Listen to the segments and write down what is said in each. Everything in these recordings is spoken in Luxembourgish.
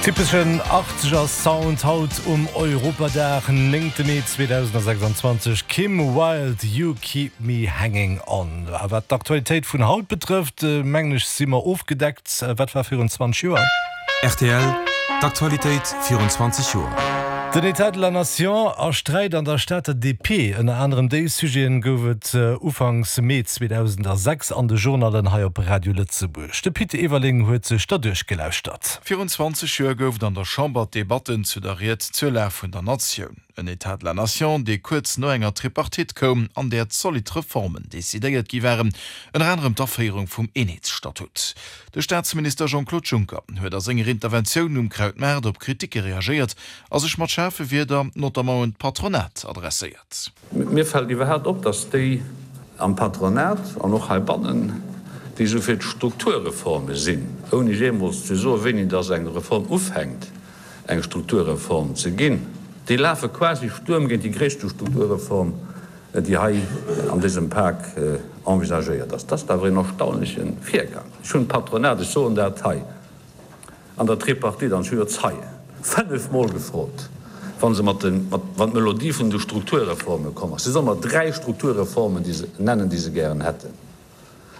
Typeschen Achtzeger Sound haut um Europadag, 9 Mee 2026, Kim Wilde, You Keep Me Hanging On. A wat d'Aktualitéit vun haut betrëfft, mengen ech si mer ofgedeckt. Wat war virun 20 Joer? Rtl, D'Aktualitéit virun 20 Joer. Den Etat de la Nation a Sträit an der Stater DP, ënner anerem déi Sujeten gouf et Ufanks Mee 2006 an de Journallen hei op Radio Lëtzebuerg. De Pit Everling huet sech der duerchgelauschtert. Virun 20 Joer gouf et an der Chamber d'Debatten zu der Ried zur Lag vun der Natioun. En Etat de la Nation, dee kuerz no enger Tripartite koum, an där zolidd Reformen decidéiert gi waren, ënner anerem d'Aféierung vum Eenheetsstatut. De Staatsminister Jean-Claude Juncker huet a senger Interventioun um Krautmaart op Kriticke reagéiert a sech mat schaarfe Wierder notamment un d'Patronat adresséiert. Mir fält iwwerhaapt op, datt déi am Patronat an och heibannen, déi esou fir d'Strukturreforme sinn, ouni jeemools ze soen, wéini datt eng Reform ufänkt, eng Strukturreform ze ginn, déi lafe quasi Stuerm géint déi gréisste Strukturreform, déi hei an dësem Pak envisagéiert ass. Dat ass awer een erstaunleche Virgang. Ech hunn d'Patronat, ech soen dat hei an der Tripartite, an ech hu jo Zeien, fënnefmol gefrot, wa se mat de, wann d'Melodie vun de Strukturreforme komm ass, se solle mer dräi Strukturreformen déi se nennen, déi se gären hätten.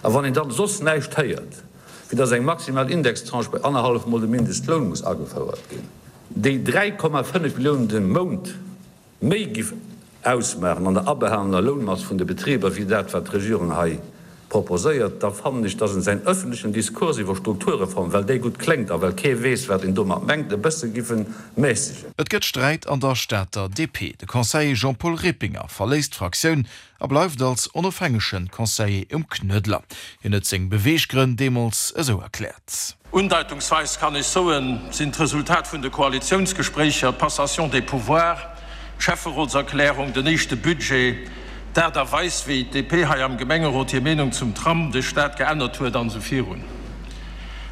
A wann een dann soss näischt héiert, wéi dass eng maximal Indextranche bei annerhallef Mol de Mindestloun muss agefouert ginn, déi 3,5 Milliounen de Mount méi giff ausmaachen an der abehalener Lounmass vun de Betriber wéi dat wat d'Regierung hei proposéiert, da fannen ech, dass en säin öffentlechen Diskurs iwwer Strukturreform, well déi gutt kléngt a well kee weess wat een domat mengt, e bësse giffe mässegen. Et gëtt Sträit an der Stater DP. De Conseiller Jean-Paul Rippinger verléisst d'Fraktioun a bleift als onofhängege Conseiller um Knuedler. Hien huet seng Beweeggrënn deemools esou erkläert. Undeitungsweis kann ech soen, sinn d'Resultat vun de Koalitiounsgespréicher, d'Passation des pouvoirs, d'Schäfferotserklärung, den éischte Budget, d'Aart a Weis wéi d'DP hei am Gemengerot hir Meenung zum Tram de Staat geännert huet an esou virun.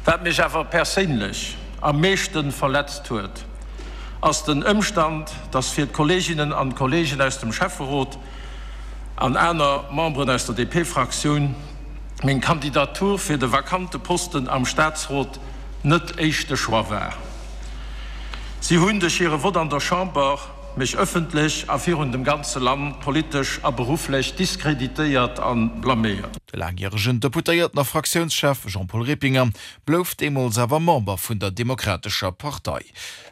Wat mech awer perséinlech am meeschte verletzt huet, ass den Ëmstand, dass fir d'Kolleeginnen an d'Kolleegen aus dem Schäfferot an aner Memberen aus der DP-Fraktioun meng Kandidatur fir de vakante Posten am Staatsrot net éischte Choix war. Si hunn duerch hire Vott an der Chamber mech ëffentlech a virun dem ganze Land politesch a berufflech diskreditéiert a blaméiert. De laangjäregen Deputéierten a Fraktiounschef Jean-Paul Rippinger blouf deemools awer Member vun der Demokratescher Partei.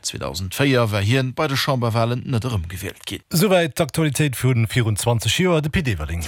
2004 war hien bei de Chamberwalen net erëmgewielt ginn. Souwäit d'Aktualitéit vu virun 20 Joer, de Pit Everling.